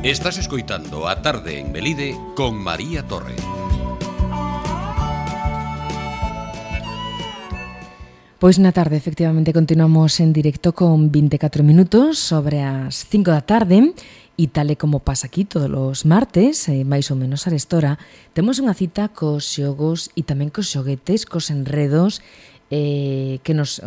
Estás escoitando A Tarde en Melide con María Torre. Pois na tarde, efectivamente, continuamos en directo con 24 minutos sobre as 5 da tarde e tal e como pasa aquí todos os martes, máis ou menos a restora, temos unha cita cos xogos e tamén cos xoguetes, cos enredos que nos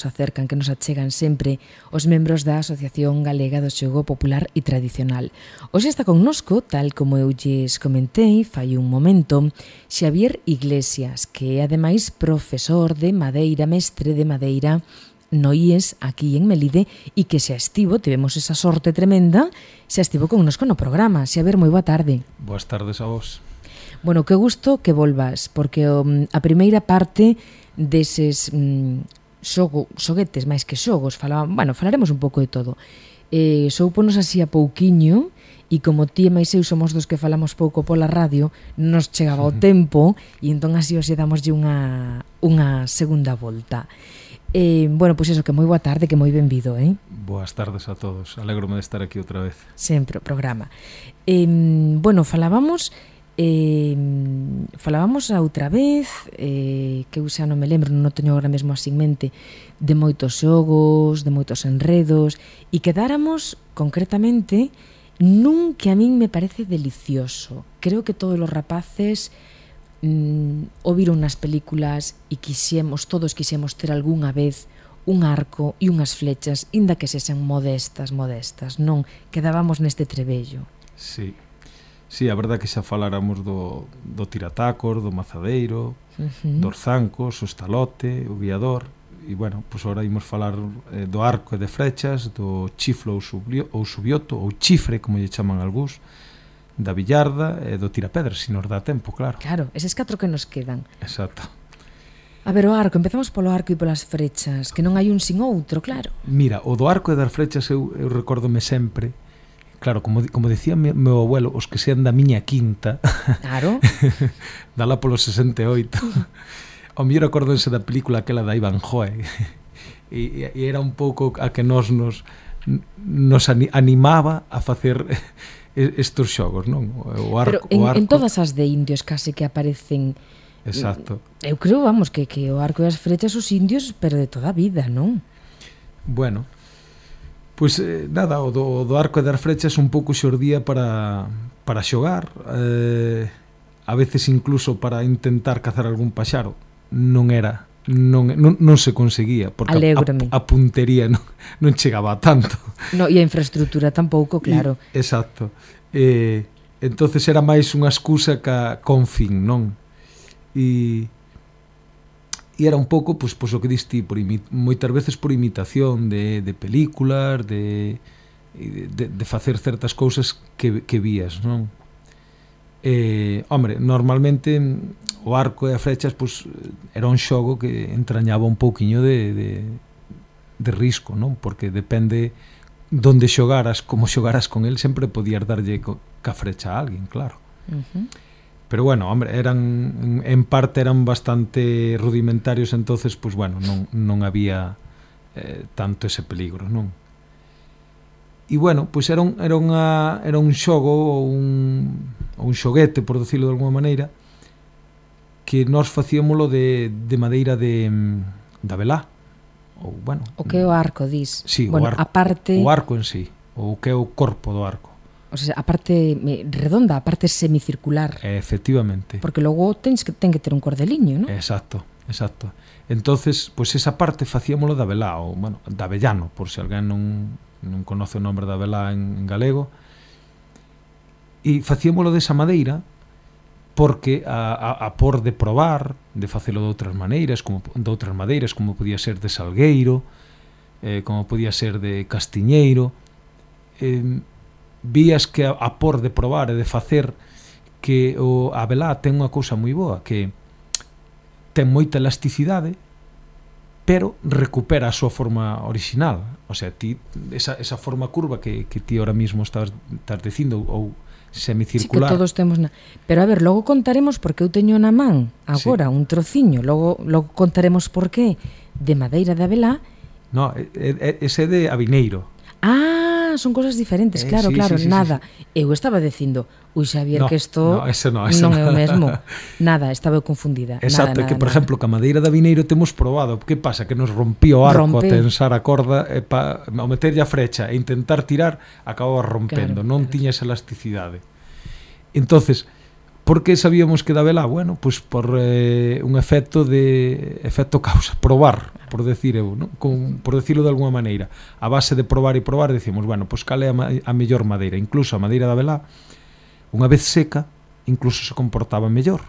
acercan, que nos achegan sempre os membros da Asociación Galega do Xogo Popular e Tradicional. Hoxe está connosco, tal como eu lles comentei fai un momento, Xavier Iglesias, que é ademais profesor de madeira, mestre de madeira no IES aquí en Melide e que xa estivo, tivemos esa sorte tremenda, xa estivo connosco no programa. Xavier, moi boa tarde. Boas tardes a vos. Bueno, que gusto que volvas, porque a primeira parte deses xoguetes, máis que xogos, falaremos un pouco de todo. Soupónos así a pouquiño, e como ti e máis eu somos dos que falamos pouco pola radio, nos chegaba o tempo, e entón así hoxe damoslle unha segunda volta. Bueno, pois eso, que moi boa tarde, que moi benvido, Boas tardes a todos, alégrome de estar aquí outra vez. Sempre o programa. Bueno, falábamos a outra vez, que eu xa non me lembro, non teño agora mesmo así en mente, de moitos xogos, de moitos enredos, e quedáramos concretamente nun que a min me parece delicioso. Creo que todos os rapaces o viron nas películas e todos quixemos ter algunha vez un arco e unhas flechas, inda que sexan modestas, non? Quedábamos neste trebello. Sí, a verdade que xa faláramos do tiratacos, do mazadeiro, dos zancos, o estalote, o guiador, e, bueno, pois agora imos falar do arco e de flechas, do chiflo ou subioto, ou chifre, como lle chaman algúns, da billarda e do tirapedras, se nos dá tempo, claro. Claro, eses 4 que nos quedan. Exacto. A ver, o arco, empezamos polo arco e polas frechas, que non hai un sin outro, claro. Mira, o do arco e das flechas eu recórdome sempre. Claro, como decía meu abuelo, os que sean da miña quinta. Claro. Dala polo 68. O mellor acórdense da película aquela da Ivanhoe. E era un pouco a que nos animaba a facer estos xogos, non? O arco, pero en todas as de indios case que aparecen. Exacto. Eu creo, vamos, que o arco e as flechas os indios, pero de toda a vida, non? Bueno, pois nada, o do arco e das flechas un pouco xordía para xogar, a veces incluso para intentar cazar algún paxaro. Non se conseguía, porque a puntería non chegaba a tanto. No, e a infraestructura tampouco, claro. Exacto. Entonces era máis unha excusa con fin, non? E era un pouco, pois o que diste, moitas veces por imitación de películas, de facer certas cousas que vías, non? Hombre, normalmente o arco e as flechas pois era un xogo que entrañaba un pouquiño de risco, non? Porque depende donde xogaras, como xogaras con el, sempre podías darlle ca frecha a alguén, claro. Pero bueno, hombre, en parte eran bastante rudimentarios, entonces, pois bueno, non había tanto ese peligro, non? E bueno, pois era un xogo ou un xoguete, por decirlo de alguma maneira, que nós facíamolo de madeira da velá. Ou, bueno, o que é o arco, dis? Sí, bueno, o arco en sí, ou o que é o corpo do arco. O sea, a parte redonda, a parte semicircular. Efectivamente. Porque logo ten que ter un cordeliño, non? Exacto. Entonces, pois esa parte facíamolo da velá, ou, bueno, da avellano, por se alguén non conoce o nombre da velá en galego. E facíamolo desa madeira porque a por de probar, de facelo de outras madeiras, como podía ser de salgueiro, como podía ser de castiñeiro, vías que a por de probar e de facer que a velá ten unha cousa moi boa, que ten moita elasticidade, pero recupera a súa forma original. O sea, ti esa forma curva que ti ahora mismo estás dicindo, ou semicircular. Sí, que todos temos Pero a ver, logo contaremos porque eu teño na man agora un trociño, logo contaremos por qué de madeira de abelá. No, ese é de avineiro. Ah, son cosas diferentes, claro, nada. Eu estaba dicindo, Xavier, que isto non é o mesmo. Nada, estaba eu confundida. Exacto, que por exemplo, que a madeira da vineiro temos probado. Que pasa? Que nos rompía o arco a tensar a corda e ao meterlle a frecha e intentar tirar, acababa rompendo, non tiña esa elasticidade. Entonces, por que sabíamos que da vela? Bueno, pues por un efecto causa, probar, por decir eu, ¿no? Por decirlo de alguma maneira. A base de probar e probar, decimos, bueno, pues cal é a mellor madeira. Incluso a madeira da vela, unha vez seca, incluso se comportaba mellor.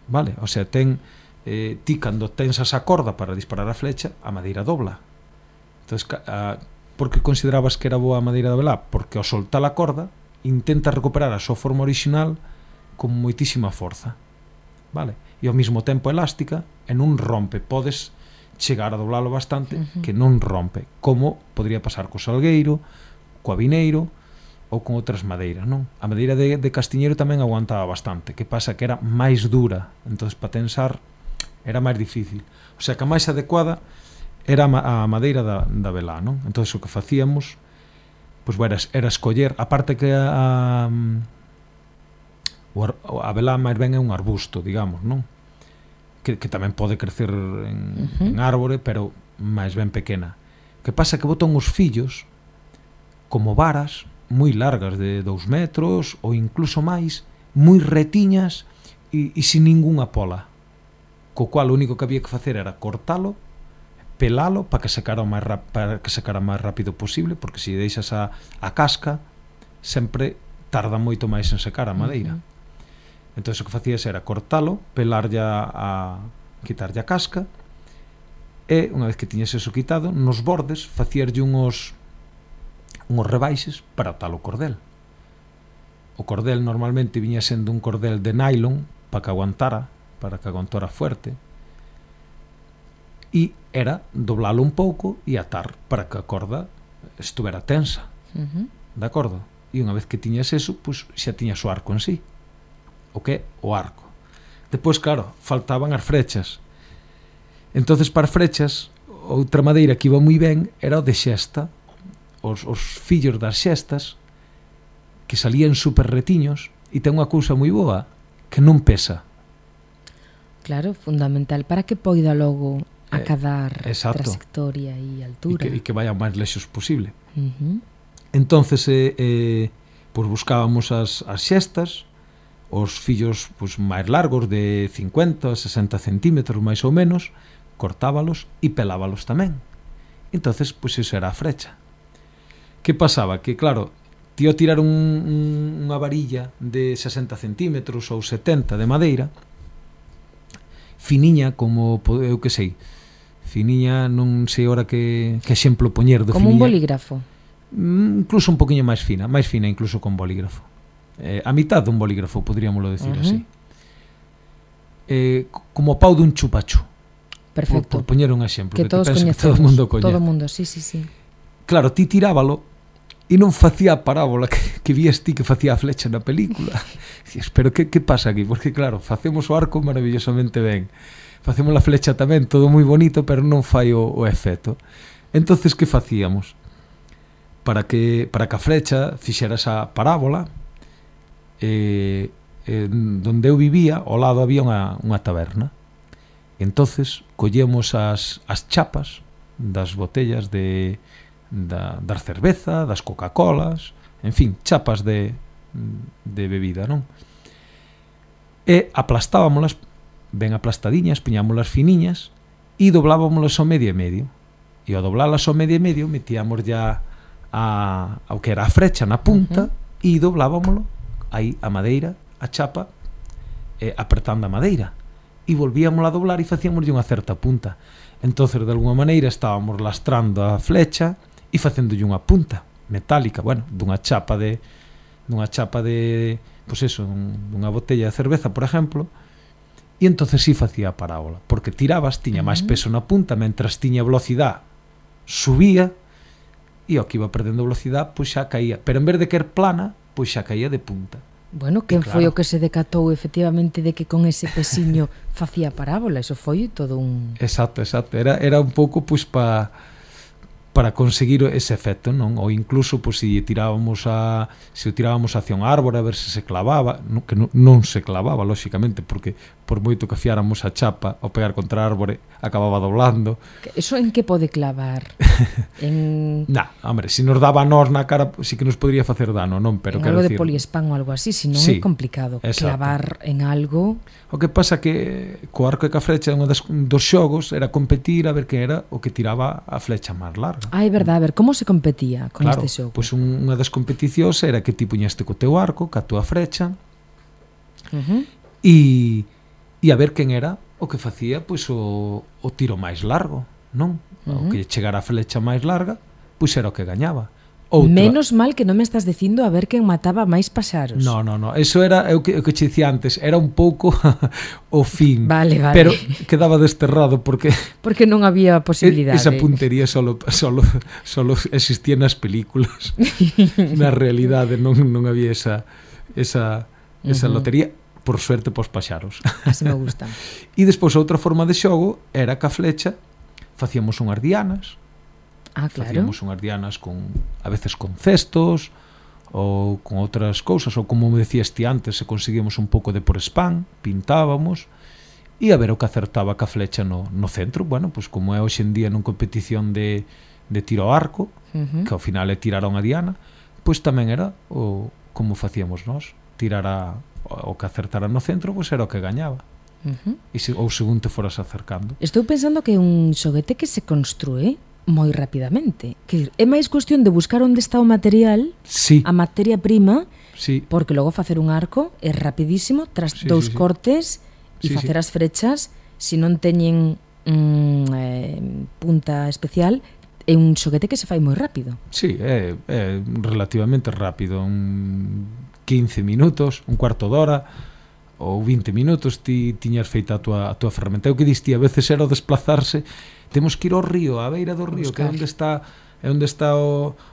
Vale? O sea, ti cando tensas a corda para disparar a flecha, a madeira dobla. Entonces, por que considerabas que era boa a madeira da vela? Porque ao soltar a corda, intenta recuperar a súa forma original con moitísima forza, vale? E ao mesmo tempo elástica e non rompe, podes chegar a doblalo bastante que non rompe, como podría pasar co salgueiro, co avineiro ou con outras madeiras, non? A madeira de castiñeiro tamén aguantaba bastante, que pasa que era máis dura, entonces para tensar era máis difícil, o sea que a máis adecuada era a madeira da velá, non? Entonces o que facíamos pois era escoller, aparte que a velá máis ben é un arbusto, digamos, non? Que tamén pode crecer en árbore, pero máis ben pequena. Que pasa que botan os fillos como varas moi largas de 2 metros ou incluso máis, moi retiñas e sin ningunha pola. Co cual o único que había que facer era cortalo, pelalo para que secara o máis rápido posible, porque se deixas a casca sempre tarda moito máis en secar a madeira. Entón o que facías era cortalo, pelarlle quitarlle a casca e unha vez que tiñas eso quitado, nos bordes facíaslle uns rebaixes para atar o cordel. O cordel normalmente viña sendo un cordel de nylon para que aguantara fuerte, e era doblalo un pouco e atar para que a corda estuvera tensa. De acordo? E unha vez que tiñas eso, pois xa tiñas o arco en sí. O que? O arco. Depois, claro, faltaban as frechas. Entonces, para as frechas, outra madeira que iba moi ben era o de xesta. Os fillos das xestas que salían super retiños e ten unha cousa moi boa, que non pesa. Claro, fundamental para que poida logo acadar trayectoria e altura. E que vaya o máis lexos posible. Entonces, pois buscábamos as xestas, os fillos pois, máis largos de 50 a 60 centímetros máis ou menos, cortábalos e pelábalos tamén. Entonces, pois iso era a frecha. Que pasaba? Que claro, ti ao tirar unha varilla de 60 centímetros ou 70 de madeira, finiña como, eu que sei, finiña, non sei ora que exemplo poñer do como finiña. Un bolígrafo. Incluso un poquinho máis fina incluso con bolígrafo. A mitad dun bolígrafo, podríamoslo decir así. Como o pau dun chupachu. Perfecto. Por poñer un exemplo que todos coñecemos. Todo o mundo coñece. Todo o mundo, sí. Claro, ti tirábalo e non facía a parábola que vías ti que facía a flecha na película. Dices, pero que pasa aquí? Porque claro, facemos o arco maravillosamente ben. Facemos a flecha tamén, todo moi bonito, pero non fai o efecto. Entonces, que facíamos? Para que a flecha fixera esa parábola, donde eu vivía, ao lado había unha taberna. Entonces collemos as chapas das botellas das cerveza, das Coca-Colas, en fin, chapas de bebida, non? E aplastábamolas ben aplastadiñas, piñámolas finiñas e doblábamolas ao medio e medio. E ao doblalas ao medio e medio metíamos ya ao que era a frecha na punta e doblábamolo aí a madeira, a chapa, apretando a madeira, e volvíamos a doblar e facíamos unha certa punta. Entonces, de alguma maneira, estábamos lastrando a flecha e facéndolle unha punta metálica, bueno, dunha chapa de pois eso, dunha botella de cerveza, por exemplo, e entonces sí facía a parábola, porque tirabas, tiña máis peso na punta, mentras tiña velocidade, subía, e ao que iba perdendo velocidade, pois xa caía, pero en vez de caer plana, pois xa caía de punta. Bueno, quen foi o que se decatou efectivamente de que con ese pesiño facía parábola? Eso foi todo un... Exacto. Era un pouco pois para para conseguir ese efecto, non? Ou incluso pois, se o tirábamos hacia un árbore a ver se clavaba, que non se clavaba, lóxicamente, porque por moito que afiáramos a chapa ao pegar contra a árbore acababa doblando. Eso en que pode clavar? Hombre, se nos daba a nós na cara, sí que nos podría facer dano, non? Pero en algo de poliespán ou algo así, senón é complicado clavar en algo. O que pasa que co arco e ca flecha un dos xogos era competir a ver que era o que tiraba a flecha máis larga. É verdade, a ver, como se competía con este xogo? Pois unha das competicións era que ti puñaste co teu arco, ca túa flecha, e a ver quen era o que facía pois o tiro máis largo, non? O que chegara a flecha máis larga, pois era o que gañaba. Menos mal que non me estás dicindo a ver quen mataba máis paxaros. No, eso era o que che dicía antes, era un pouco o fin. Vale. Pero quedaba desterrado porque non había posibilidade. Esa puntería solo existía nas películas. Na realidade non había esa lotería, por suerte pos paxaros. Así me gusta. E despois outra forma de xogo era que a flecha facíamos unhas dianas. Claro. Facíamos unhas dianas a veces con cestos ou con outras cousas, ou como me decías ti antes, se conseguíamos un pouco de por spam, pintábamos e a ver o que acertaba ca flecha no centro. Bueno, pois como é hoxe en día nun competición de tiro ao arco, que ao final é tirar a unha diana, pois tamén era como facíamos nós, tirar o que acertara no centro, pois era o que gañaba. Ou según te foras acercando. Estou pensando que é un xoguete que se construe moi rapidamente, que é máis cuestión de buscar onde está o material, a materia prima, porque logo facer un arco é rapidísimo, tras dous cortes e facer as frechas, se non teñen punta especial, é un xoguete que se fai moi rápido. Sí, é relativamente rápido, 15 minutos, un cuarto de hora ou 20 minutos ti tiñas feita a túa ferramenta. O que diste, a veces era o desplazarse, temos que ir ao río, á beira do río, que é onde está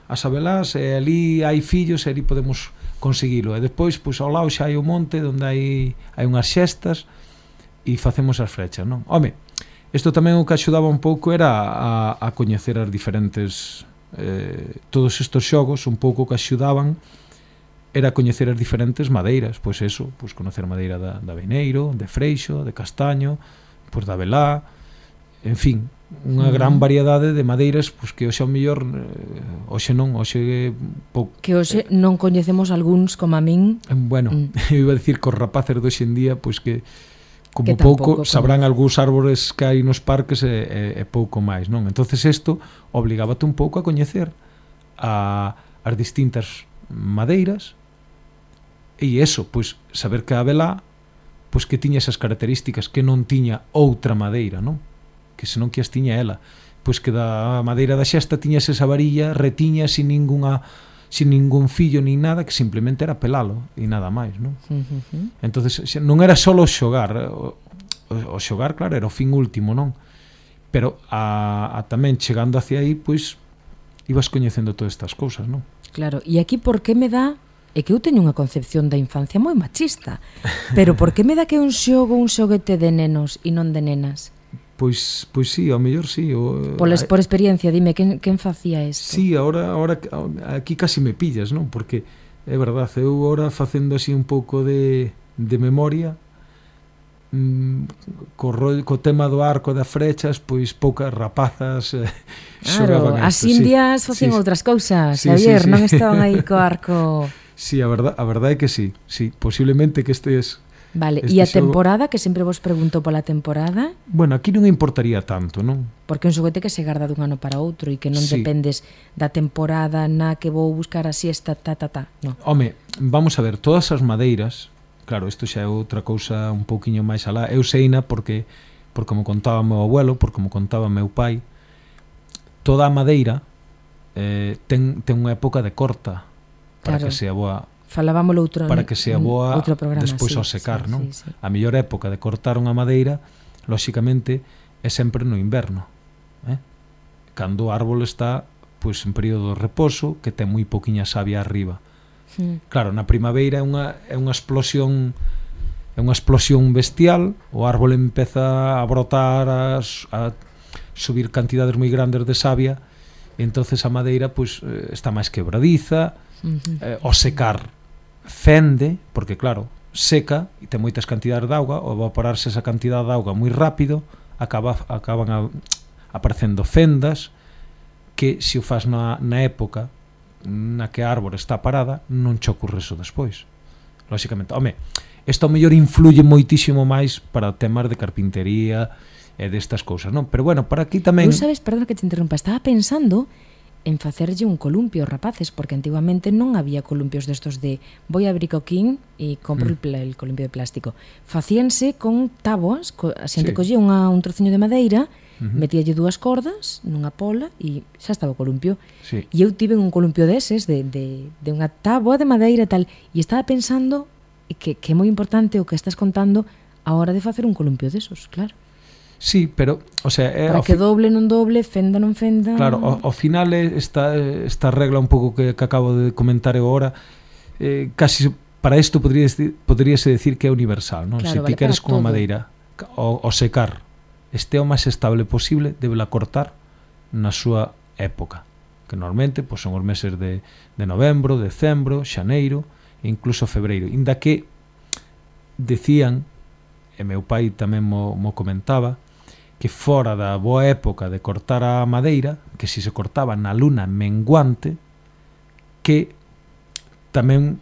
as abelás, e ali hai fillos, e ali podemos conseguilo. E depois, pois, ao lado xa hai o monte onde hai unhas xestas e facemos as flechas, non? Home, isto tamén o que axudaba un pouco era a coñecer as diferentes todos estes xogos, un pouco que axudaban era coñecer as diferentes madeiras, pois eso, pois conocer madeira da Beneiro, de Freixo, de Castaño, pois da Abelá, en fin, unha gran variedade de madeiras, pois que hoxe ao mellor hoxe que hoxe non coñecemos algúns como a min. Bueno, eu iba a dicir que os rapaces de hoxe en día, pois que como pouco sabrán algúns árbores que hai nos parques e pouco máis, non? Entonces isto obligábate un pouco a coñecer as distintas madeiras. E iso, pois, saber que a Abelá, pois que tiña esas características que non tiña outra madeira, non? Que senón que as tiña ela. Pois que da madeira da xesta tiñas esa varilla retiña sin ningún fillo nin nada, que simplemente era pelalo e nada máis, non? Entonces non era só xogar, o xogar, claro, era o fin último, non? Pero a tamén chegando hacia aí, pois ibas coñecendo todas estas cousas, non? Claro, e aquí por que me dá, é que eu teño unha concepción da infancia moi machista, pero por que me dá que é un xoguete de nenos e non de nenas? Pois sí, ao mellor sí. Por experiencia, dime, quen facía isto? Sí, ahora aquí casi me pillas, non? Porque é verdade, eu agora facendo así un pouco de memoria, co tema do arco e das frechas, pois poucas rapazas xogaban isto. As indias facían outras cousas, Xavier, non estaban aí co arco. Sí, a verdade é que sí, posiblemente que estes... Vale, e a temporada, que sempre vos pregunto pola temporada? Bueno, aquí non importaría tanto, non? Porque é un xoguete que se garda dun ano para outro e que non dependes da temporada na que vou buscar a siesta, non. Home, vamos a ver, todas as madeiras, claro, isto xa é outra cousa un pouquiño máis alá, eu seina porque como contaba meu abuelo, porque como contaba meu pai, toda a madeira ten unha época de corta para que sea boa. Falábamolo para que sea boa despois ao secar, non? A mellor época de cortar unha madeira, lóxicamente, é sempre no inverno, cando o árbol está pois en período de reposo, que ten moi poquinha savia arriba. Claro, na primavera é unha explosión bestial, o árbol empeza a brotar, a subir cantidades moi grandes de savia, entonces a madeira pois está máis quebradiza, ao secar fende, porque claro, seca e ten moitas cantidades de auga, ao evaporarse esa cantidade de auga moi rápido, acaban aparecendo fendas que se o faz na época na que a árbore está parada non che ocorre eso despois. Lóxicamente, isto ao mellor influye moitísimo máis para temas de carpintería e destas cousas, non? Pero bueno, para aquí tamén... Eu sabes, perdón que te interrompa, estaba pensando en facerlle un columpio aos rapaces, porque antigamente non había columpios destos de voy a abrir coquín e compro el columpio de plástico. Facíanse con táboas, a xente collía un trociño de madeira, metíalle 2 cordas nunha pola e xa estaba o columpio. Sí. E eu tive un columpio deses de unha táboa de madeira e tal, e estaba pensando que é moi importante o que estás contando a hora de facer un columpio desos, claro. Sí, pero, o sea... para que doble, non doble, fenda, non fenda... Claro, ao final esta regla un pouco que acabo de comentar eu agora, casi para isto poderíase decir que é universal, non? Claro, Se ti queres con a madeira ao secar este o máis estable posible, debela cortar na súa época, que normalmente pois, son os meses de novembro, decembro, xaneiro e incluso febreiro. Inda que decían, e meu pai tamén mo comentaba, que fora da boa época de cortar a madeira, que si se cortaba na luna menguante, que tamén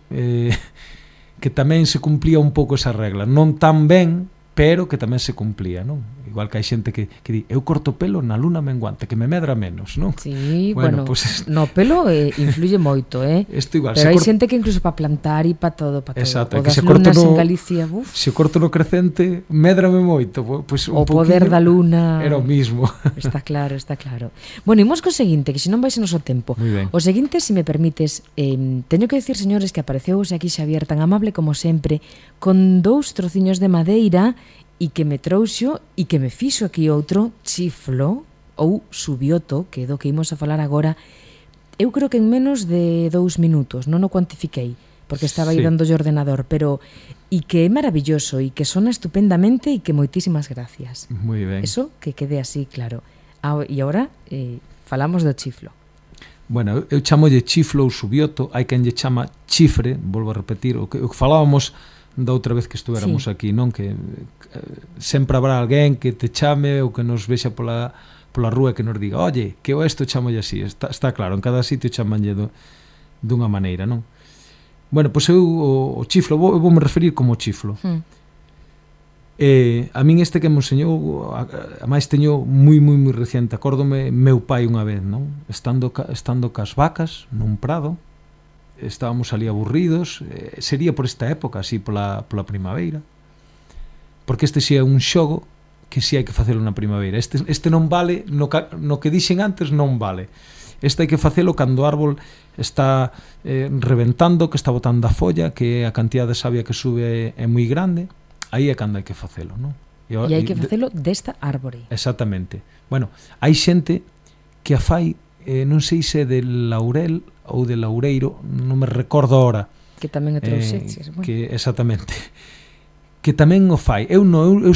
se cumplía un pouco esa regla, non tan ben, pero que tamén se cumplía, non? Igual que hai xente que di, eu corto pelo na luna menguante, que me medra menos, non? Sí, bueno, no pelo influye moito, Isto igual, pero hai xente que incluso para plantar e para todo, exacto, o que das se corto lunas en Galicia, se corto no crecente, médrame moito, pues o poder da luna era o mismo. Está claro, está claro. Bueno, imos co seguinte, que senón vais a noso tempo. O seguinte, se me permites, teño que decir, señores, que apareceu aquí Xavier tan amable como sempre, con 2 trociños de madeira e que me trouxo e que me fixo aquí outro chiflo ou subioto, que é do que imos a falar agora. Eu creo que en menos de 2 minutos, non o cuantifiquei, porque estaba aí dando o ordenador, pero e que é maravilloso e que sona estupendamente e que moitísimas gracias. Moi ben. Eso que quede así claro. E agora falamos do chiflo. Bueno, eu chamolle chiflo ou subioto, hai quen lle chama chifre, volvo a repetir, o que falábamos da outra vez que estuvéramos aquí, non? Que sempre habrá alguén que te chame ou que nos vexa pola rúa e que nos diga, oye, que eu isto chamolle así, está claro, en cada sitio chamanlle dunha maneira, non? Bueno, pois eu o chiflo, vou me referir como chiflo. A min este que me enseñou, a máis teño moi reciente, acórdome meu pai unha vez, non? Estando cas vacas nun prado, estábamos ali aburridos, sería por esta época, así pola primavera, porque este si é un xogo que si hai que facelo na primavera. Este non vale, no que dixen antes non vale. Este hai que facelo cando o árbol está reventando, que está botando a folla, que a cantidad de savia que sube é moi grande, aí é cando hai que facelo, non? E hai que facelo desta árbore. Exactamente. Bueno, hai xente que a fai, non sei se de laurel ou de laureiro, non me recordo ahora. Que tamén o trouxeches. Que exactamente. Que tamén o fai. Eu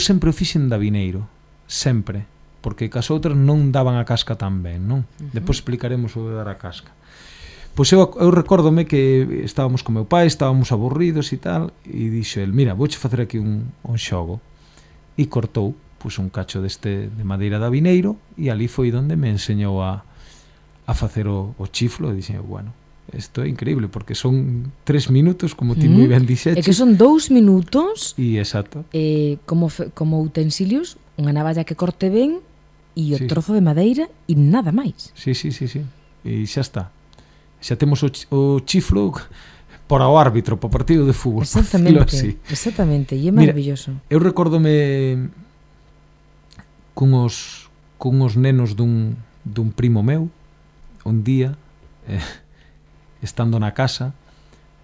sempre o fixen de avineiro, sempre, porque cas outras non daban a casca tan ben, non? Depois explicaremos o de dar a casca. Pois eu recórdome que estábamos con meu pai, estábamos aburridos e tal, e dixo el, mira, vouche facer aquí un xogo. E cortou pois un cacho de madeira de avineiro, e ali foi onde me enseñou a facer o chiflo, e dixen, bueno, isto é increíble, porque son 3 minutos, como ti moi ben dixeches. É que son 2 minutos. E exacto. Como utensilios, unha navalla que corte ben, e o trozo de madeira, e nada máis. Sí. E xa está. Xa temos o chiflo para o árbitro, para o partido de fútbol. Exactamente, e é maravilloso. Mira, eu recórdome cunhos nenos dun primo meu, un día, estando na casa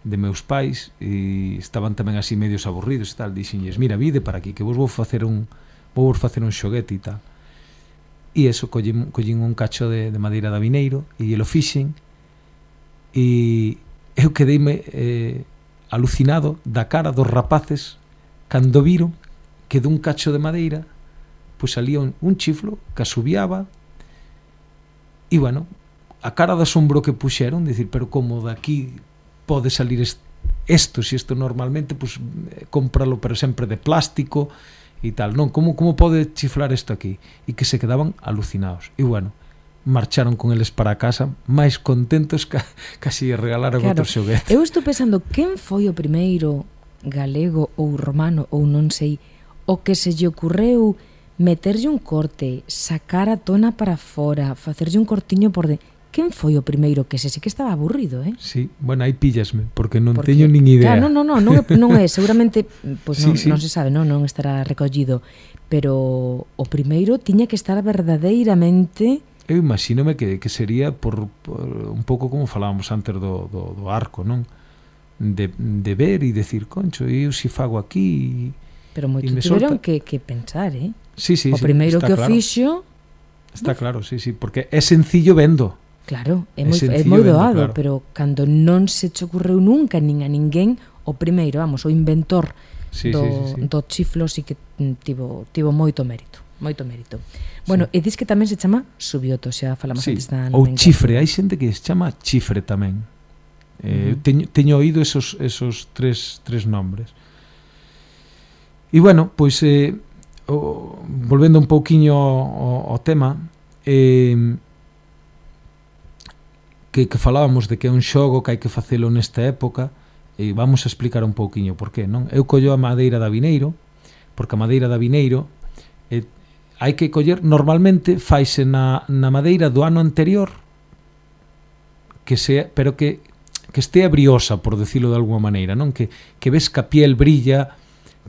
de meus pais, e estaban tamén así medios aburridos e tal, dixenlles, mira, vide para aquí, que vos vou facer un xoguete e tal. E eso, collín un cacho de madeira de avineiro, e lo fixen, e eu quedeime alucinado da cara dos rapaces cando viron que dun cacho de madeira pois salía un chiflo que asubiaba, e bueno, a cara de asombro que puxeron, dicir, pero como daqui pode salir isto, se isto normalmente pues, cómpralo pero sempre de plástico e tal, non, como pode chiflar isto aquí? E que se quedaban alucinados. E bueno, marcharon con eles para casa máis contentos que casi regalaron outro xoguete. Eu estou pensando, quen foi o primeiro galego ou romano ou non sei, o que se lle ocurreu meterlle un corte, sacar a tona para fora, facerlle un cortiño por de... Quen foi o primeiro? Que ese sí que estaba aburrido, Sí, bueno, aí píllasme, porque non teño nin idea. Claro, non é, seguramente pues sí. Non se sabe, non estará recollido, pero o primeiro tiña que estar verdadeiramente... Eu imagínome que sería por un pouco como falábamos antes do arco, non? De ver e decir, concho, eu si fago aquí... Pero moito tiveron que pensar, Sí, o primeiro que o fixo... Está claro, sí, porque é sencillo vendo. Claro, é moi doado, claro. Pero cando non se che ocurreu nunca nin a ninguén, o primeiro, vamos, o inventor do chiflo sí que tivo moito mérito. Bueno, e dis que tamén se chama subioto, xa falamos antes da... Ou chifre, hai xente que se chama chifre tamén. Teño oído esos tres nombres. E bueno, pois volvendo un pouquiño ao tema, que falábamos de que é un xogo que hai que facelo nesta época, e vamos a explicar un pouquiño por qué, non? Eu collo a madeira da vineiro, porque a madeira da vineiro hai que coller, normalmente faise na madeira do ano anterior, pero que estea briosa, por decirlo de alguma maneira, non? Que ves que a piel brilla,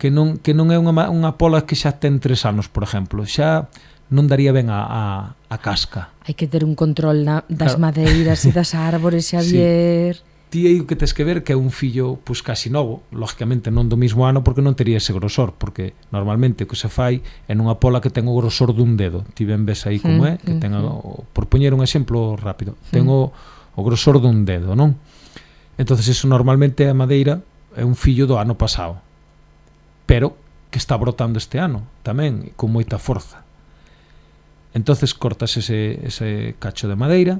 que non é unha pola que xa ten 3 anos, por exemplo, xa non daría ben a casca. Hai que ter un control das madeiras e das árbores, Xavier. Ti aí o que tes que ver que é un fillo pues, casi novo, lógicamente non do mismo ano porque non tería ese grosor, porque normalmente o que se fai é nunha pola que ten o grosor dun dedo. Ti ben ves aí como é, que ten por poñer un exemplo rápido, ten o grosor dun dedo, non? Entonces eso normalmente a madeira é un fillo do ano pasado, pero que está brotando este ano tamén con moita forza. Entonces cortas ese cacho de madeira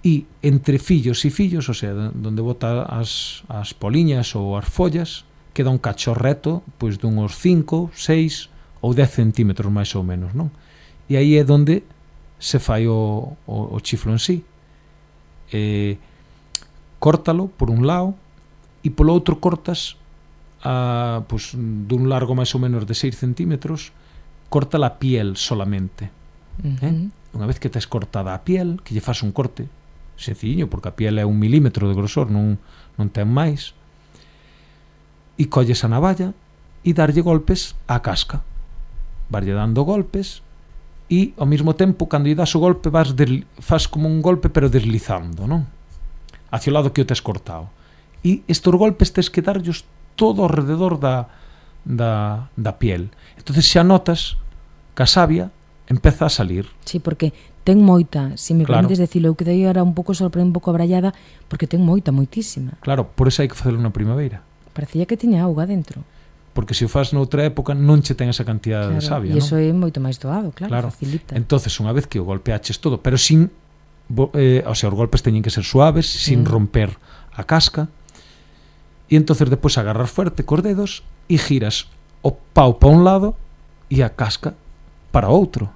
e entre fillos e fillos, o sea, donde bota as poliñas ou as follas, queda un cacho reto, pois dunhos 5, 6 ou 10 centímetros máis ou menos, non? E aí é donde se fai o chiflo en sí. Córtalo por un lado e polo outro cortas pois, dun largo máis ou menos de 6 centímetros, corta a piel solamente. Unha vez que tes cortada a piel, que lle faz un corte sencillo, porque a piel é 1 milímetro de grosor, non ten máis, e colles a navalla e darlle golpes á casca, varlle dando golpes e ao mesmo tempo cando lle das o golpe faz como un golpe pero deslizando, non? Hacia o lado que o tes cortado, e estes golpes tes que darllos todo ao rededor da piel. Entonces xa notas que a savia empeza a salir. Sí, porque ten moita, se me permites decirlo, eu quedei ahora un pouco sorprendida, un pouco abrallada, porque ten moitísima. Claro, por eso hai que facelo na primavera. Parecía que tiña auga dentro. Porque se o fas noutra época non che ten esa cantidad de savia, non? E iso é moito máis doado, claro, facilita. Entonces, unha vez que o golpeaches todo, pero sin, o sea, os golpes teñen que ser suaves, sin romper a casca, e entonces depois agarras fuerte cos dedos e giras o pau para un lado e a casca para outro,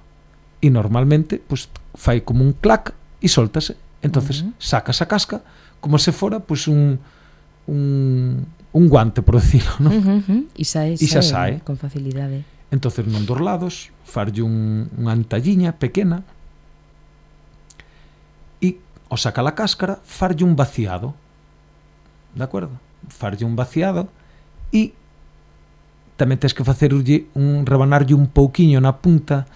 e normalmente pues, fai como un clac e soltase, entonces sacas a casca como se fora pues, un guante, por decirlo, ¿no? E xa sae con facilidade. Entonces non dos lados farlle unha antalliña pequena e ao sacar a cáscara farlle un vaciado, de acordo? Farlle un vaciado e tamén tens que facerlle rebanarlle un pouquiño na punta.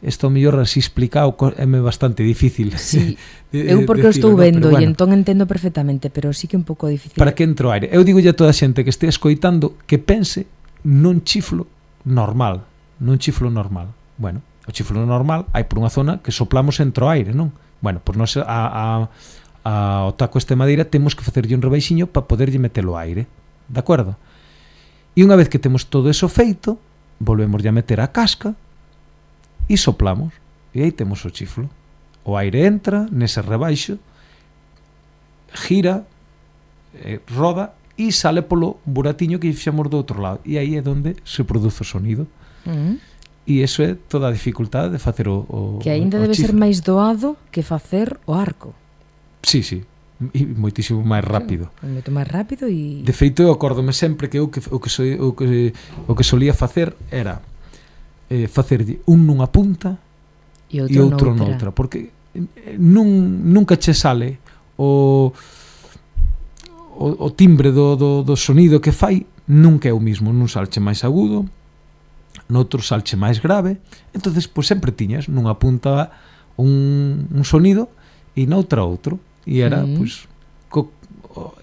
Isto mellor así explicado é bastante difícil. Sí, eu porque o estou vendo e entón entendo perfectamente, pero sí que é un pouco difícil. Para que entre o aire. Eu digo a toda a xente que este escoitando que pense nun chiflo normal, Bueno, o chiflo normal hai por unha zona que soplamos entre o aire, non? Bueno, pois nós ao taco este madeira temos que facerlle un rebaixiño para poderlle metelo ao aire, de acordo? E unha vez que temos todo eso feito, volvemos a meter a casca e soplamos, e aí temos o chiflo. o aire entra nese rebaixo, gira, roda e sale polo buratiño que fixamos do outro lado, e aí é onde se produce o sonido. E iso é toda a dificultade de facer o que aínda debe chifre. ser máis doado que facer o arco. Sí, e moitísimo máis rápido. Moito máis rápido e... De feito, eu acórdome sempre que o que solía facer era facerlle un nunha punta e outro noutra, porque nunca che sale o timbre do sonido que fai, nunca é o mismo, nun salche máis agudo, noutro salche máis grave. Entonces, pois sempre tiñas nunha punta un sonido e noutra outro, e era, pois,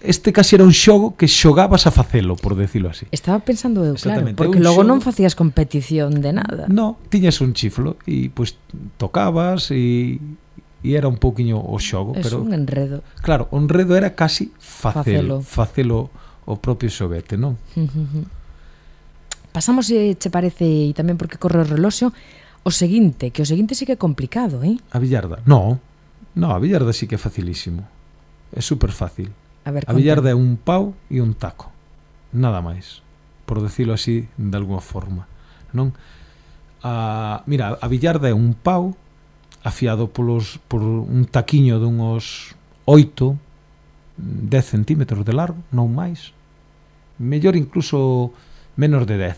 este casi era un xogo que xogabas a facelo, por decirlo así. Estaba pensando eu, claro, porque logo non facías competición de nada. No, tiñas un chiflo e pois tocabas e era un pouquiño o xogo, é pero un enredo. Claro, o enredo era casi facelo o propio xoguete, non? Pasamos, se che parece, e tamén porque corre o reloxo, o seguinte, que o seguinte sí que é complicado, A billarda? No, a billarda sí que é facilísimo. É super fácil. A billarda é un pau e un taco, nada máis, por decirlo así de alguma forma, non? Mira, a billarda é un pau afiado por un taquiño dunhos 8-10 centímetros de largo, non máis, mellor incluso menos de 10,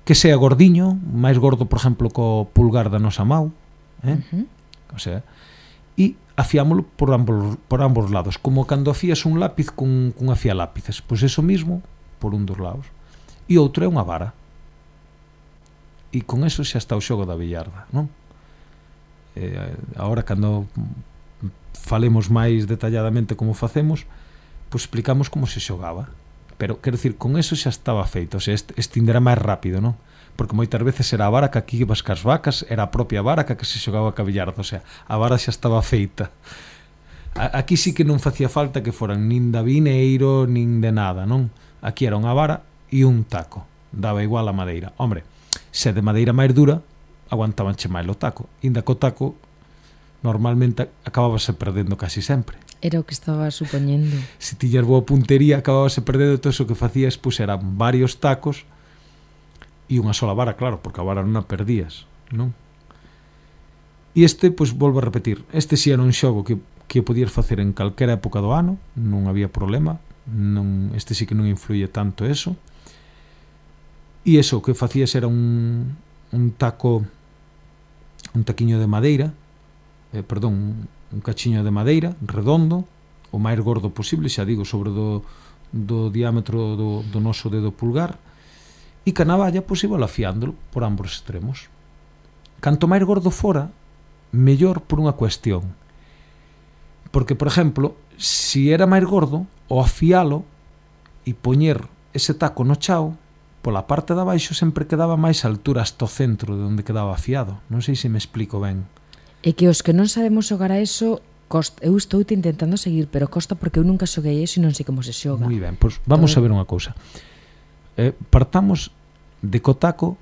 que sea gordiño, máis gordo, por exemplo, co pulgar da nosa mau, o sea, e afiámolo por ambos lados, como cando afías un lápiz cun afialápices, pois eso mismo por un dos lados, e outro é unha vara, e con eso xa está o xogo da billarda, non? Agora, cando falemos máis detalladamente como facemos, pois explicamos como se xogaba, pero quero dicir, con eso xa estaba feito, o sea, estinderá máis rápido, non? Porque moitas veces era a vara que aquí ibas cas vacas, era a propia vara que se xogaba ca billarda, o sea, a vara xa estaba feita. Aquí sí que non facía falta que foran nin de vineiro, nin de nada, non? Aquí era unha vara e un taco, daba igual a madeira. Hombre, se de madeira máis dura, aguantabanche máis o taco, inda co taco normalmente acabábase perdendo casi sempre. Era o que estaba supoñendo. Se tiñas boa puntería, acabábase perdendo, todo iso que facías, pois eran varios tacos e unha sola vara, claro, porque a vara non a perdías, non? E este, pois, volvo a repetir, este si era un xogo que podías facer en calquera época do ano, non había problema, este sí que non influye tanto eso, e eso, o que facías era un taquiño de madeira, un cachiño de madeira, redondo, o máis gordo posible, xa digo, sobre do diámetro do noso dedo pulgar, e ca navalla, pois, iba afiándolo por ambos extremos. Canto máis gordo fora, mellor por unha cuestión. Porque, por exemplo, si era máis gordo, o afialo e poñer ese taco no chao, pola parte de abaixo sempre quedaba máis altura hasta o centro de onde quedaba afiado. Non sei se me explico ben. É que os que non sabemos xogar a eso, eu estou intentando seguir, pero costa porque eu nunca xoguei eso e non sei como se xoga. Moi ben, pois vamos a ver unha cousa. Partamos de cotaco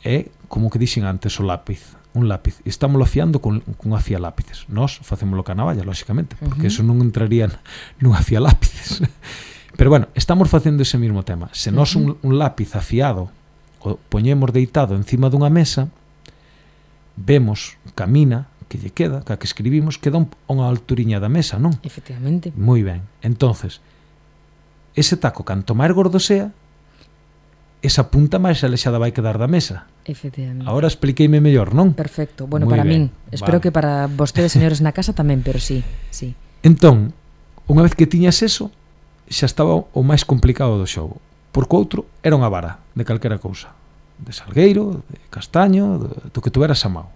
é como que dixen antes o lápiz, un lápiz, e estámoslo afiando con afialápices. Nós facémoslo ca navalla, lóxicamente, porque eso non entraría nun afialápices. Pero bueno, estamos facendo ese mismo tema. Se nós un lápiz afiado o poñemos deitado encima dunha mesa, vemos camina que lle queda, que escribimos, queda unha alturiña da mesa, non? Efectivamente. Moi ben. Entonces, ese taco, canto máis gordo sea, esa punta máis alexada vai quedar da mesa. Efectivamente. Agora expliqueime mellor, non? Perfecto. Bueno, Muy para ben. min. Espero que para vostedes, señores na casa, tamén, pero sí. Entón, unha vez que tiñas eso, xa estaba o máis complicado do xogo. Porque o outro era unha vara de calquera cousa. De salgueiro, de castaño, do que tuveras a mao.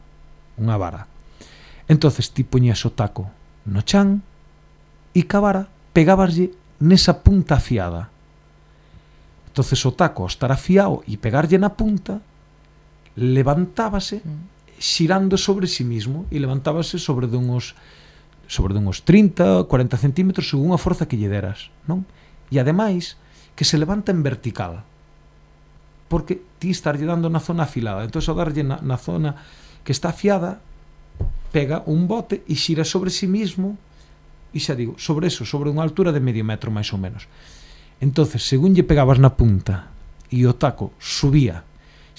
Unha vara. Entonces ti poñías o taco no chan e ca vara pegabaslle nesa punta afiada. Entonces o taco, ao estar afiado e pegarlle na punta, levantábase xirando sobre si mismo e levantábase sobre de uns 30, 40 centímetros según a forza que lle deras, non? E ademais que se levanta en vertical, porque ti estarlle dando na zona afilada, entón ao darlle na zona que está afiada, pega un bote e xira sobre sí mismo, e xa digo, sobre unha altura de medio metro máis ou menos. Entonces, según lle pegabas na punta e o taco subía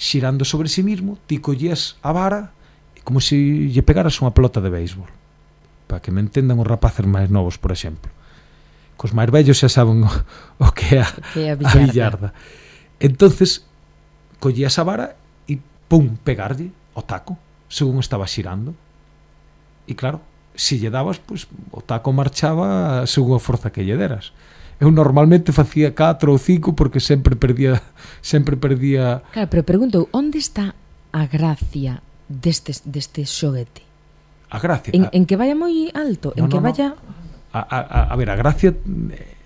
xirando sobre sí mismo, ti collías a vara como se lle pegaras unha pelota de béisbol, para que me entendan os rapaces máis novos, por exemplo. Cos máis vellos xa saben o que é a billarda. Entonces, collías a vara e pum, pegarlle o taco según estaba xirando. E claro, se lle dabas, pues, o taco marchaba según a forza que lle deras. Eu normalmente facía 4 ou 5 porque sempre perdía. Claro, pero pregunto, onde está a gracia deste xoguete? A gracia? En que vaya moi alto? En que vaya... A ver, a gracia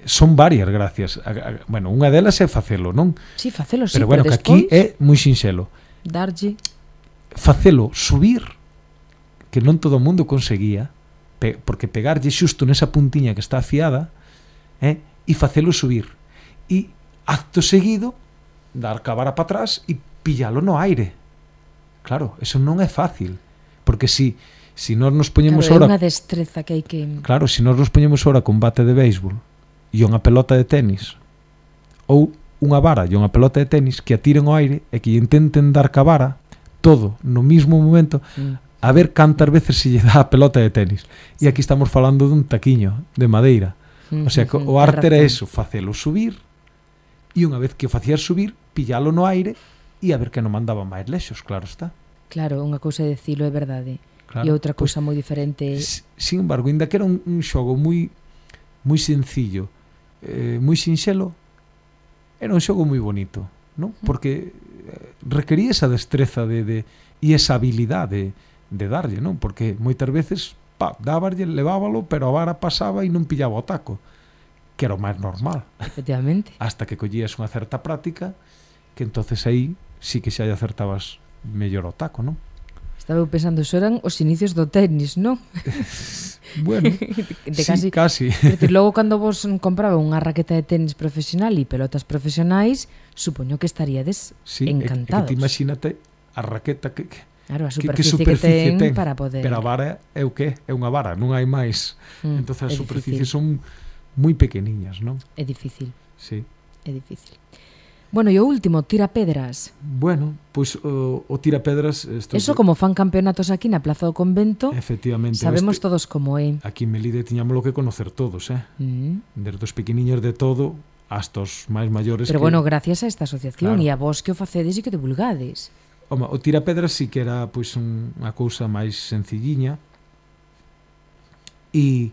son varias gracias. Bueno, unha delas é facelo, non? Sí, facelo, sí, pero bueno, que aquí é moi sinxelo. Darlle... Facelo subir, que non todo o mundo conseguía, porque pegarlle xusto nesa puntiña que está afiada, e facelo subir. E acto seguido, dar a vara para atrás e pillalo no aire. Claro, eso non é fácil, porque si nós nos poñemos claro, é unha destreza que hai que... Claro, se nós nos poñemos ahora con bate de béisbol e unha pelota de tenis, ou unha vara e unha pelota de tenis, que a tiren ao aire e que intenten dar ca vara todo no mismo momento, a ver cantas veces se lle dá a pelota de tenis. E aquí estamos falando dun taquiño de madeira. O sea, que o arte era eso, facelo subir, e unha vez que o facías subir, pillalo no aire e a ver que non mandaba máis lexos, claro está. Claro, unha cousa é dicilo, é verdade. Claro, e outra cousa moi diferente. Sin embargo, ainda que era un xogo moi sencillo, moi sinxelo, era un xogo moi bonito, non? Porque requería esa destreza e esa habilidade de darlle, non? Porque moitas veces dábarlle, levábalo, pero a vara pasaba e non pillaba o taco, que era o máis normal. Efectivamente. Hasta que collías unha certa práctica, que entonces aí sí que xa lle acertabas mellor o taco, non? Estaba pensando, eso eran os inicios do tenis, non? Bueno, sí, casi. Logo, cando vos compraba unha raqueta de tenis profesional e pelotas profesionais, supoño que estaríades encantados. Que te imagínate a raqueta que claro, a superficie que ten para poder... Pero a vara é o que? É unha vara, non hai máis. Entón as superficies son moi pequeniñas, non? É difícil. Sí. É difícil. Bueno, e o último, tirapedras. Bueno, pois o tirapedras... Eso como fan campeonatos aquí na Plaza do Convento, efectivamente, sabemos todos como é. Aquí en Melide tiñámoslo que conocer todos, desde os pequeniños de todo hasta os máis maiores. Pero bueno, gracias a esta asociación e a vos que o facedes e que divulgades. Home, o tirapedras sí que era pois unha cousa máis sencilliña e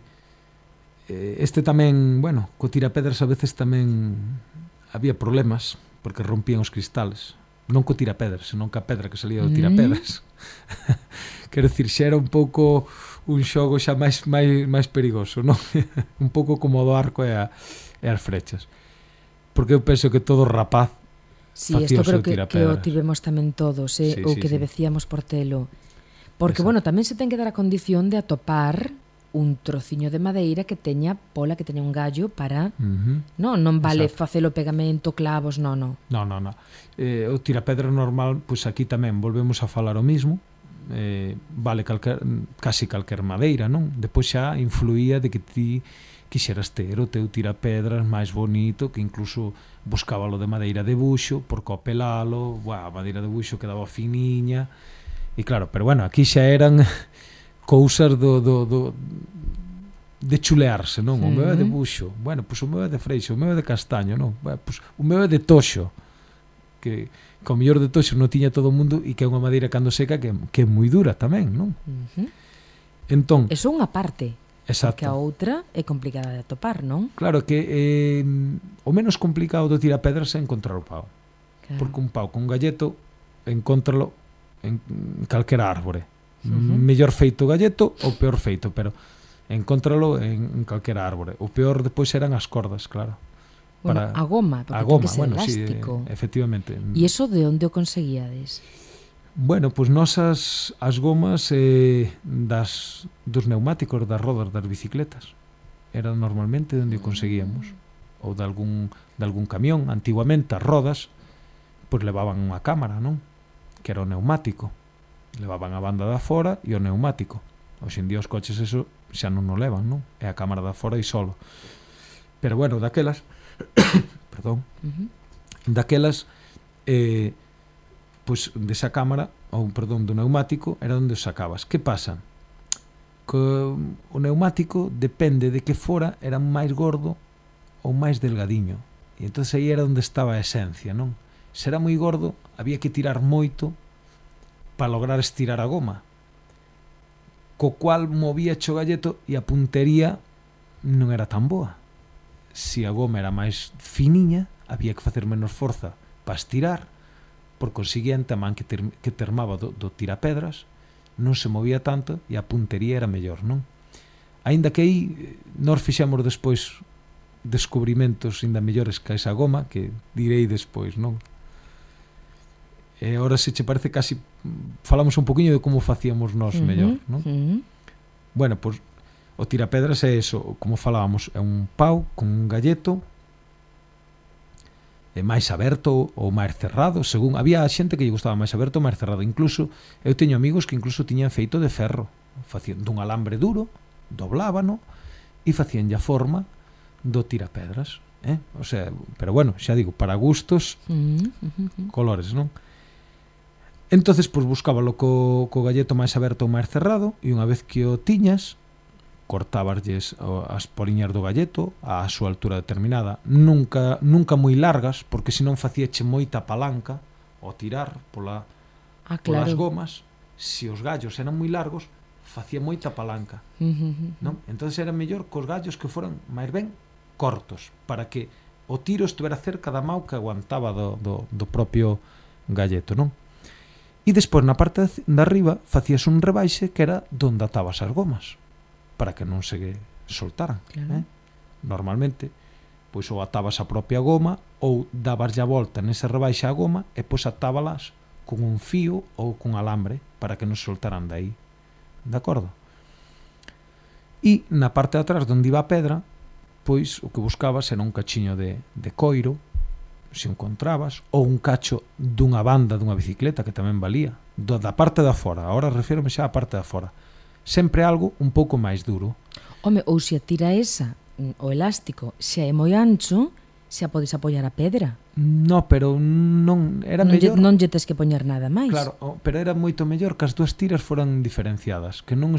este tamén, bueno, co tirapedras a veces tamén había problemas porque rompían os cristales, non co tirapedras, senón ca pedra que salía do tirapedras. Quero dicir, xa era un pouco un xogo xa máis perigoso, non? Un pouco como o do arco e as flechas. Porque eu penso que todo rapaz facía o seu tirapedras. Que o tivemos tamén todos, ou que debecíamos por telo. Porque, bueno, tamén se ten que dar a condición de atopar un trociño de madeira que teña pola, que teña un gallo para... Non vale facelo pegamento, clavos, non. O tirapedra normal, pois aquí tamén volvemos a falar o mismo, vale casi calquer madeira, non? Depois xa influía de que ti quixeras ter o teu tirapedras máis bonito, que incluso buscábalo de madeira de buxo, porque ao pelalo, a madeira de buxo quedaba finiña, e claro, pero bueno, aquí xa eran cousas de chulearse, non? O meu é de buxo, bueno, pois o meu é de freixo, o meu é de castaño, non? Pois o meu é de toxo, que o mellor de toxo non tiña todo o mundo e que é unha madeira cando seca que é moi dura tamén, non? Entón, eso é unha parte, exacto, porque a outra é complicada de atopar, non? Claro que o menos complicado do tirapedras é encontrar o pau, porque un pau con galleto encontralo en calquera árbore, mellor feito o galleto ou peor feito, pero encontralo en calquera árbore. O peor depois eran as cordas, claro. Bueno, a goma, porque ten que ser elástico. Sí, efectivamente. E iso de onde o conseguíades? Bueno, pois nosas as gomas dos neumáticos das rodas das bicicletas era normalmente onde o conseguíamos, ou de algún camión. Antiguamente as rodas pois levaban unha cámara, non? Que era o neumático. Levaban a banda de afora e o neumático. Hoxe en día os coches eso xa non o levan, non? É a cámara da fora e solo. Pero bueno, daquelas perdón, daquelas pois desa cámara, ou perdón, do neumático era onde os sacabas. Que pasa? Que o neumático depende de que fora era máis gordo ou máis delgadiño. E entón aí era onde estaba a esencia, non? Se era moi gordo, había que tirar moito para lograr estirar a goma, co cual movía o galleto e a puntería non era tan boa. Se a goma era máis finiña, había que facer menos forza para estirar, por consiguiente a man que termaba do tirapedras non se movía tanto e a puntería era mellor, non? Aínda que aí nós fixemos despois descubrimentos ainda mellores que esa goma, que direi despois, non? E agora se che parece casi falamos un poquinho de como facíamos nós mellor, non? Bueno, pois o tirapedras é eso, como falábamos, é un pau con un galleto máis aberto ou máis cerrado, según había xente que lle gustaba máis aberto ou máis cerrado. Incluso eu teño amigos que incluso tiñan feito de ferro, facían dun alambre duro, doblábano e facían a forma do tirapedras, o sea, pero bueno, xa digo, para gustos, colores, non? Entonces, pois buscábalo co galleto máis aberto ou máis cerrado, e unha vez que o tiñas, cortabaslles as poliñas do galleto á súa altura determinada, nunca moi largas, porque senón facíache moita palanca ao tirar polas gomas. Se os gallos eran moi largos, facía moita palanca, non? Entón era mellor cos gallos que foran máis ben cortos, para que o tiro estivera cerca da mau que aguantaba do propio galleto, non? E despois na parte de arriba facías un rebaixe que era donde atabas as gomas, para que non se soltaran, claro. Normalmente pois ou atabas a propia goma ou dabas a volta nese rebaixe a goma e pois atábalas con un fío ou con alambre para que non se soltaran de aí, de acordo? E na parte de atrás onde iba a pedra, pois o que buscabas era un cachiño de coiro, se encontrabas, ou un cacho dunha banda dunha bicicleta, que tamén valía, da parte da fora. Agora refírome xa á parte da fora. Sempre algo un pouco máis duro. Home, ou se a tira esa, o elástico, se é moi ancho, se a podes apoiar a pedra. No, pero non era mellor. Non lle tes que poñer nada máis. Claro, pero era moito mellor que as dúas tiras foran diferenciadas, que non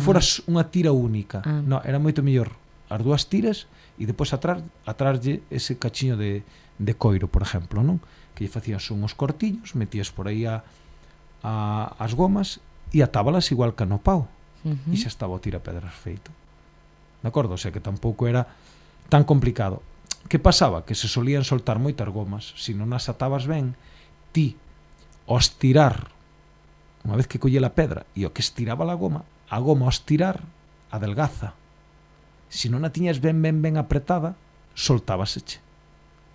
foras unha tira única. No, era moito mellor as dúas tiras e depois atráslle ese cachiño de coiro, por exemplo, non? Que lle facías unhos cortiños, metías por aí as gomas e atábalas igual que no pau, e xa estaba o tirapedras feito, de acordo? O sea que tampouco era tan complicado. Que pasaba? Que se solían soltar moitas gomas, se non as atabas ben, ti ao estirar, unha vez que colle a pedra e o que estiraba a goma ao estirar adelgaza. Se non a tiñas ben apretada, soltábaseche,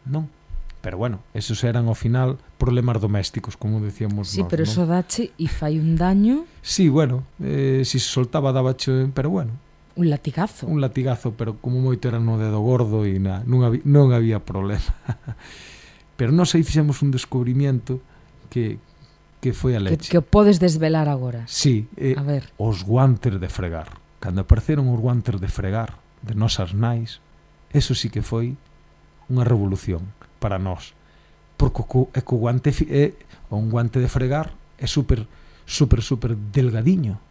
non? Pero bueno, esos eran ao final problemas domésticos, como decíamos. Sí, nós, pero non? eso dache e fai un daño. Sí, bueno, se soltaba dabache, pero bueno. Un latigazo. Un latigazo, pero como moito era no dedo gordo e non había problema. Pero nós aí fixemos un descubrimiento que foi a leche. Que podes desvelar agora. Sí, a ver. Os guantes de fregar. Cando apareceron os guantes de fregar de nosas nais, eso sí que foi unha revolución para nós, porque o guante un guante de fregar é super delgadiño,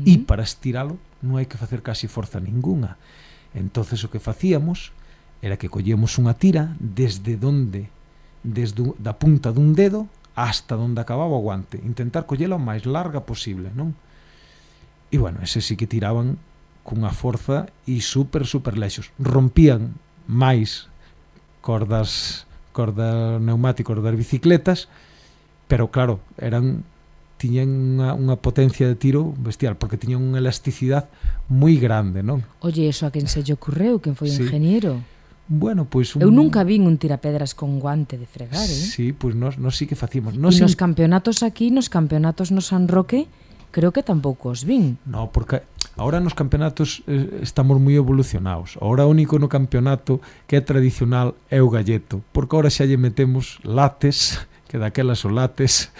e para estiralo non hai que facer casi forza ninguna. Entonces o que facíamos era que collíamos unha tira desde da punta dun dedo hasta onde acababa o guante, intentar collela o máis larga posible, non? E bueno, ese sí que tiraban cunha forza e super lexos, rompían máis cordas neumáticos das bicicletas, pero claro, tiñan unha potencia de tiro bestial, porque tiñan unha elasticidade moi grande, non? Oye, eso a quen se lle ocurreu? Quen foi o ingeniero? Bueno, pois eu nunca vin un tirapedras con guante de fregar, Sí, pois nós sí que facíamos. E nos campeonatos aquí, nos campeonatos no San Roque, creo que tampouco os vin. No, porque agora nos campeonatos estamos moi evolucionados. Agora o único no campeonato que é tradicional é o galleto, porque agora xa lle metemos lates, que daquelas o lates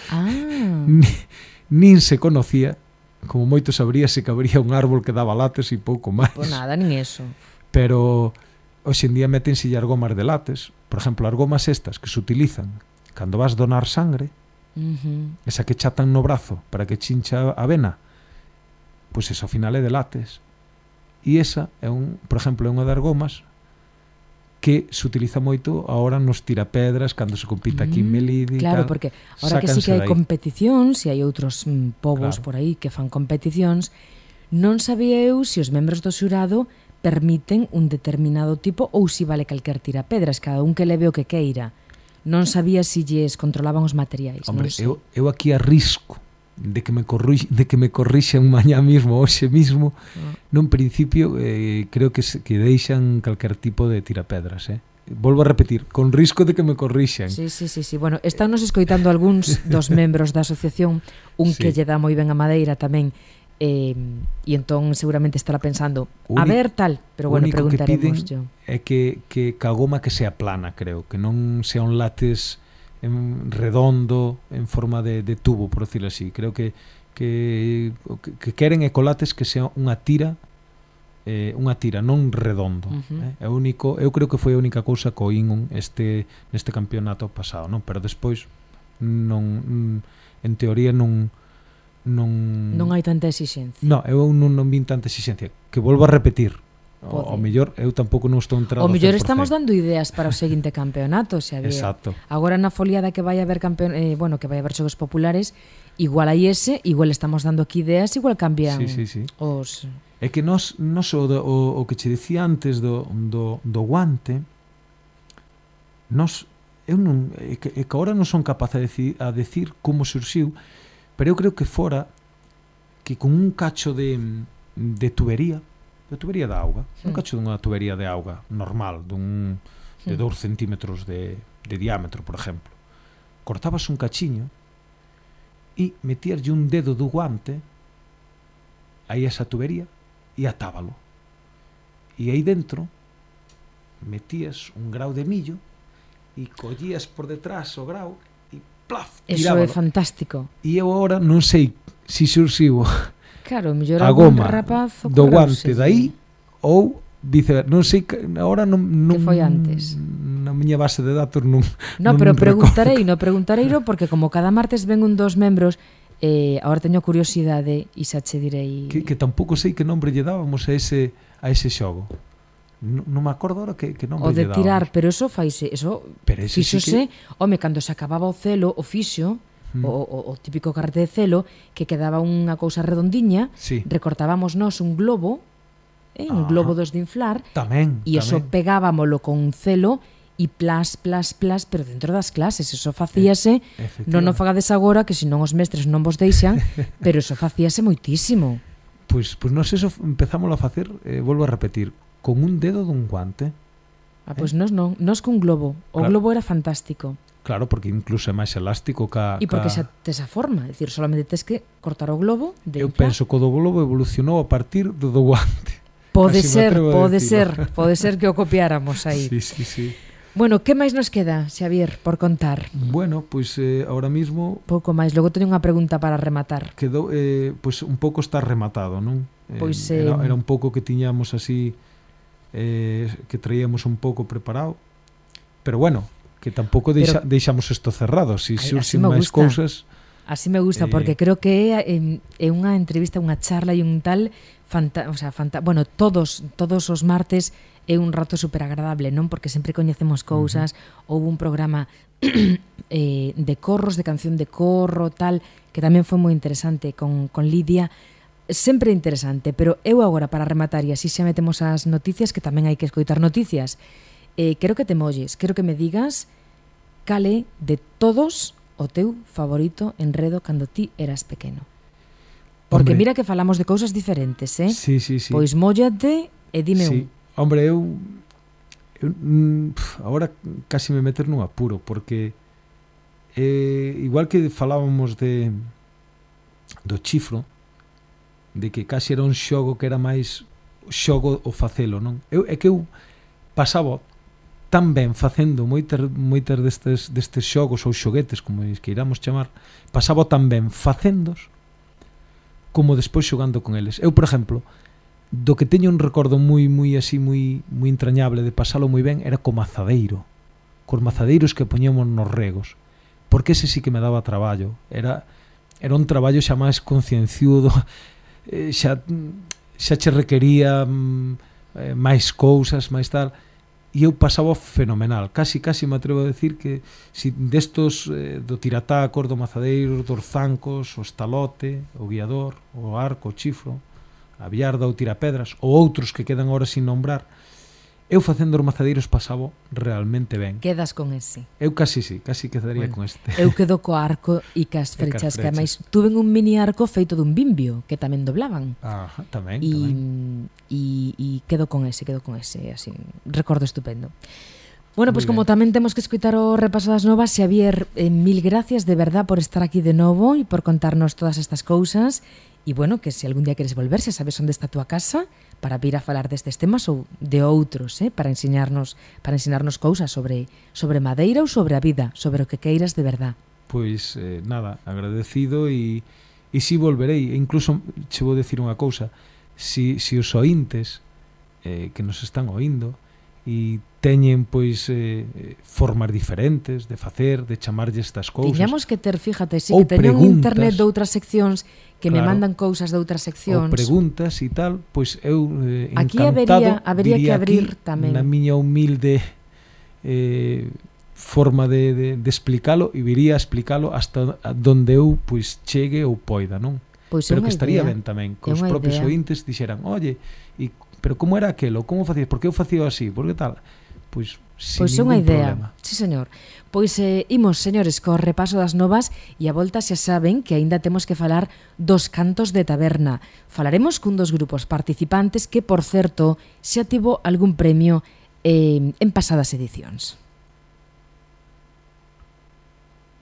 nin se conocía, como moito sabríase que habría un árbol que daba látex e pouco máis. Pois nada, nin eso. Pero hoxe en día métense as gomas de látex. Por exemplo, as gomas estas que se utilizan cando vas donar sangre, esa que chatan no brazo para que chincha a vena, pois esa ao final é de látex. E esa é por exemplo, é unha das gomas que se utiliza moito agora nos tirapedras cando se compite aquí en Melide. Claro, porque ahora que sí que hai competicións e hai outros povos por aí que fan competicións, non sabía eu se os membros do xurado permiten un determinado tipo ou se vale calquer tirapedras, cada un que leve o que queira. Non sabía se lles controlaban os materiais. Hombre, eu aquí arrisco de que me corrixan mañá mismo, hoxe mismo, nun principio creo que deixan calquer tipo de tirapedras, Volvo a repetir, con risco de que me corrixan. Sí. Bueno, están nos escoitando algúns dos membros da asociación, que lle dá moi ben a madeira tamén, e entón seguramente estará pensando a ver tal, pero bueno, preguntaremos yo. É que a goma que sea plana, creo, que non sea un látex redondo en forma de tubo, por decirlo así. Creo que queren ecolates que sea unha tira, non redondo. É único, eu creo que foi a única cousa que oín neste campeonato pasado, non? Pero despois non, en teoría non hai tanta exixencia. Non, eu non vin tanta exixencia, que volvo a repetir. O mellor, eu tampouco non estou entrado. O mellor estamos dando ideas para o seguinte campeonato, Xavier. Exacto. Agora na foliada que vai haber que vai haber xogos populares, igual hai igual estamos dando aquí ideas, igual cambian os... É que nos o que che dicía antes do guante, é que agora non son capaz a decir como surxiu, pero eu creo que fora que con un cacho de tubería de auga, un cacho dunha tubería de auga normal, de 2 centímetros de diámetro, por exemplo, cortabas un cachiño e metíaslle un dedo do guante aí esa tubería e atábalo, e aí dentro metías un grau de millo e collías por detrás o grau e plaf, tirábalo. Eso é fantástico. E eu agora non sei se surxiu claro, mellor a goma do guante dai ou viceversa. Non sei, agora non que foi antes. Na miña base de datos non. No, pero preguntareiro porque como cada martes ven un dos membros, agora teño curiosidade e xa che direi que tampouco sei que nombre lle dábamos a ese xogo. Non me acordo ahora que nombre lle dábamos. O de tirar, pero eso faise, fíxose, home, cando se acababa o celo, o fixo, o típico carrete de celo, que quedaba unha cousa redondiña, recortábamos nós un globo, un globo dos de inflar, e eso pegábamolo con un celo e plas, pero dentro das clases, eso facíase, non o fagades agora, que senón os mestres non vos deixan, pero eso facíase moitísimo. Pois nós eso empezámoslo a facer, volvo a repetir, con un dedo dun guante. Pois nós non, nós con globo, o globo era fantástico. Claro, porque incluso é máis elástico e porque xa tes a forma, é dicir, solamente tes que cortar o globo de eu penso que o do globo evolucionou a partir do guante. Pode ser que o copiáramos aí. Sí. Bueno, que máis nos queda, Xavier, por contar? Bueno, pois ahora mismo pouco máis, logo teño unha pregunta para rematar. Quedou, pois un pouco está rematado, non? Pois era un pouco que tiñamos así, que traíamos un pouco preparado, pero bueno, que tampouco deixamos isto cerrado, se surxen máis cousas. Así me gusta, porque creo que é unha entrevista, unha charla e un tal bueno, todos os martes é un rato super agradable, non? Porque sempre coñecemos cousas. Houve un programa de corros, de canción de corro, tal, que tamén foi moi interesante con Lidia. Sempre interesante, pero eu agora para rematar, e así xa metemos as noticias, que tamén hai que escoitar noticias. Quero que te molles, quero que me digas cal é de todos o teu favorito enredo cando ti eras pequeno. Porque hombre, mira que falamos de cousas diferentes, Sí. Pois móllate e dime un. Hombre, eu agora casi me meter nun apuro, porque igual que falábamos do chifro, de que casi era un xogo que era máis xogo o facelo, non? É que eu pasaba tan ben facendo moitas destes xogos ou xoguetes, como que iramos chamar, pasaba tan ben facendos como despois xogando con eles. Eu, por exemplo, do que teño un recordo moi entrañable de pasalo moi ben era co mazadeiro, cos mazadeiros que poñemos nos regos, porque ese sí que me daba traballo. Era un traballo xa máis concienciudo, xa che requería máis cousas, máis tal, e eu pasaba fenomenal. Casi me atrevo a decir que si destos do tiratacos, do mazadeiro, dos zancos, o estalote, o guiador, o arco, o chifro, a biarda, o tirapedras, ou outros que quedan ahora sin nombrar, eu facendo os mazadeiros pasaba realmente ben. Quedas con ese? Eu casi quedaría con este. Eu quedo co arco e cas frechas, que ademais tuven un mini arco feito dun bimbio, que tamén doblaban. Ajá, tamén. E quedo con ese, así, recordo estupendo. Bueno, pois como tamén temos que escutar o repaso das novas, Xavier, mil gracias de verdad por estar aquí de novo e por contarnos todas estas cousas. E bueno, que se algún día queres volver, xa sabes onde está a túa casa para vir a falar destes temas ou de outros, para ensinarnos cousas sobre madeira ou sobre a vida, sobre o que queiras de verdad. Pois nada, agradecido e si volverei. E incluso che vou decir unha cousa, si os ointes que nos están oindo e teñen pois formas diferentes de facer, de chamarlle estas cousas. Tiñamos que ter, fíjate, si que teñen internet de outras seccións que me mandan cousas de outras seccións. Ou preguntas e tal, pois eu aquí encantado habería que abrir tamén. Na miña humilde forma de explicalo, e viría a explicalo hasta donde eu pois chegue ou poida, non? Pois pero que estaría ben tamén, que os propios ointes dixeran, oye, pero como era aquelo, como facías, por que eu facía así, por que tal? Pois sin ningún problema. Sí, señor. Pois imos, señores, co repaso das novas e a volta xa saben que aínda temos que falar dos cantos de taberna. Falaremos cun dos grupos participantes que, por certo, xa tivo algún premio en pasadas edicións.